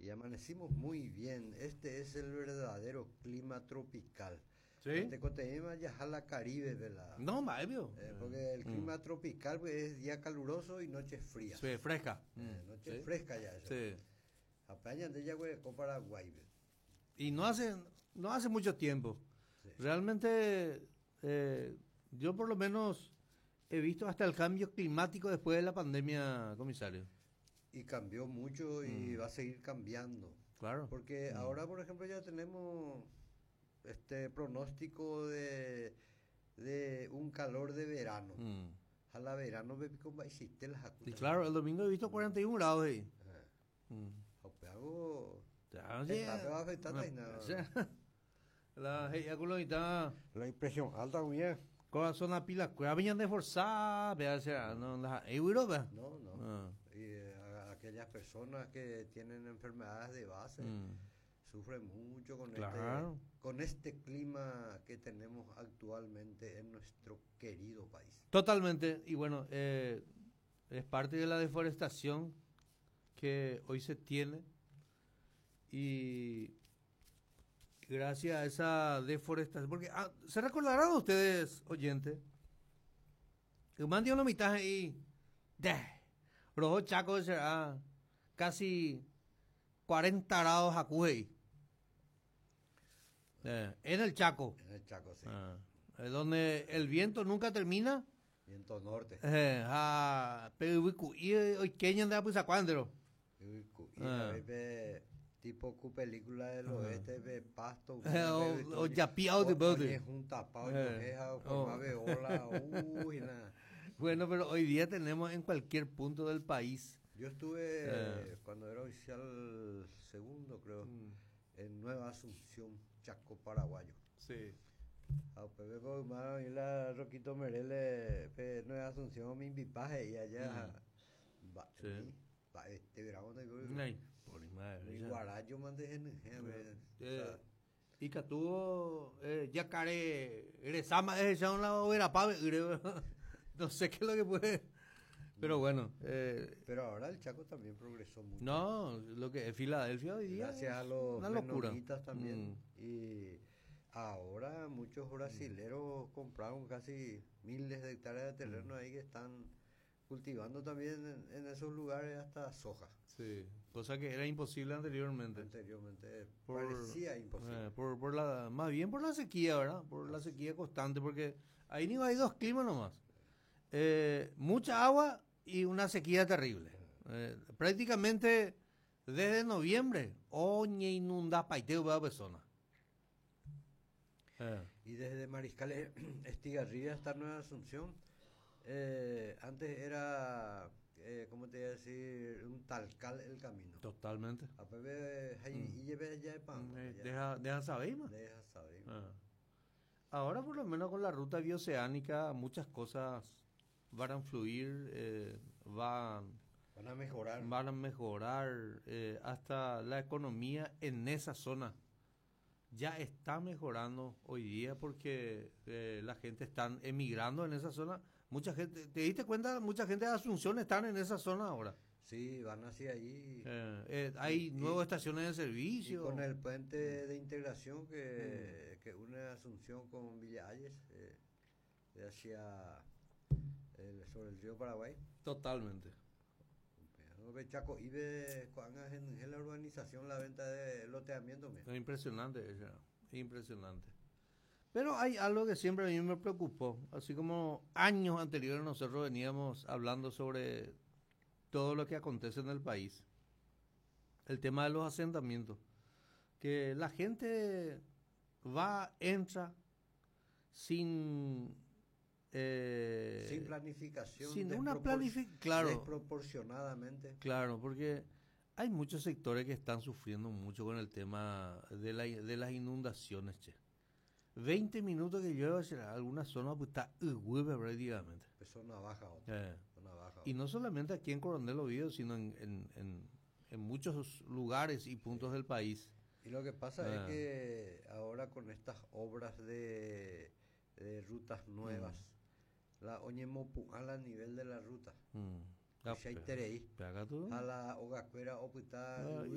Y amanecimos muy bien. Este es el verdadero clima tropical. ¿Sí? Ya la Caribe, ¿verdad? No, maebio. Eh, porque el clima tropical pues, es día caluroso y noche fría. Sí, fresca. Noche fresca ya eso. Sí. Apenas de ya Paraguay. Y no hace mucho tiempo. Realmente, yo por lo menos he visto hasta el cambio climático después de la pandemia, comisario. Y cambió mucho y va a seguir cambiando. Porque ahora, por ejemplo, ya tenemos este pronóstico de un calor de verano. A la verano hiciste las Y claro, el domingo he visto 41 grados ahí. Hago Ya, va a afectar la la La impresión alta, bien. Corazón a pila, cueva de forzar, no la Europa. No, no. Ah. Y aquellas personas que tienen enfermedades de base sufren mucho con este clima que tenemos actualmente en nuestro querido país. Totalmente. Y bueno, es parte de la deforestación que hoy se tiene y gracias a esa deforestación, porque se recordarán ustedes, oyentes, que un la mitad ahí, de, rojo Chaco será casi 40 grados a en el Chaco. En el Chaco, sí. Ah, donde el viento nunca termina. Viento norte. Pero hoy de pues Ah. Tipo cu película del oeste de pasto o yapiao de bote. Es un tapado de ola, uy, nada. Bueno, pero hoy día tenemos en cualquier punto del país. Yo estuve cuando era oficial segundo, creo, en Nueva Asunción, Chaco Paraguayo. A Pepe y la Roquito Merele, Nueva Asunción, mi invipaje y allá. Va, va, este verano de por madre. Guarayo mande en Y que tuvo yacaré, rezama, es la hoguera no sé qué es lo que puede. Pero bueno. Pero ahora el Chaco también progresó mucho. No, lo que es Filadelfia hoy día. Gracias a los una locura. también. Y ahora muchos brasileros compraron casi miles de hectáreas de terreno ahí que están cultivando también en esos lugares hasta soja. Sí, cosa que era imposible anteriormente. Anteriormente parecía imposible. Por la, más bien por la sequía, ¿verdad? Por la sequía constante, porque ahí no hay dos climas nomás. Mucha agua y una sequía terrible. Prácticamente desde noviembre, oñe inunda paiteo va persona. Y desde Mariscal Estigarribia hasta Nueva Asunción, antes era, ¿cómo te iba a decir? Un talcal el camino. Totalmente. A y Deja, deja saber, más. Deja saber. Ah. Ahora por lo menos con la ruta bioceánica muchas cosas van a fluir, van, van a mejorar. Van a mejorar hasta la economía en esa zona. Ya está mejorando hoy día porque la gente está emigrando en esa zona. Mucha gente, ¿te diste cuenta? Mucha gente de Asunción están en esa zona ahora. Sí, van hacia allí. Hay nuevas estaciones de servicio. Y con el puente de integración que une Asunción con Villa Hayes, hacia sobre el río Paraguay. Totalmente. Chaco, y en la urbanización la venta de loteamiento. Es impresionante, impresionante. Pero hay algo que siempre a mí me preocupó, así como años anteriores nosotros veníamos hablando sobre todo lo que acontece en el país, el tema de los asentamientos, que la gente va, entra sin sin planificación, sin una planificación, claro, desproporcionadamente. Claro, porque hay muchos sectores que están sufriendo mucho con el tema de las inundaciones, che. 20 minutos que llueve en alguna zona pues está prácticamente. Pues zona baja, otra. Zona baja. Y no solamente aquí en Coronel Oviedo, sino en muchos lugares y puntos del país. Y lo que pasa es que ahora con estas obras de rutas nuevas, la oñemopu'ã a nivel de la ruta. Ah, A la ogakuéra opyta.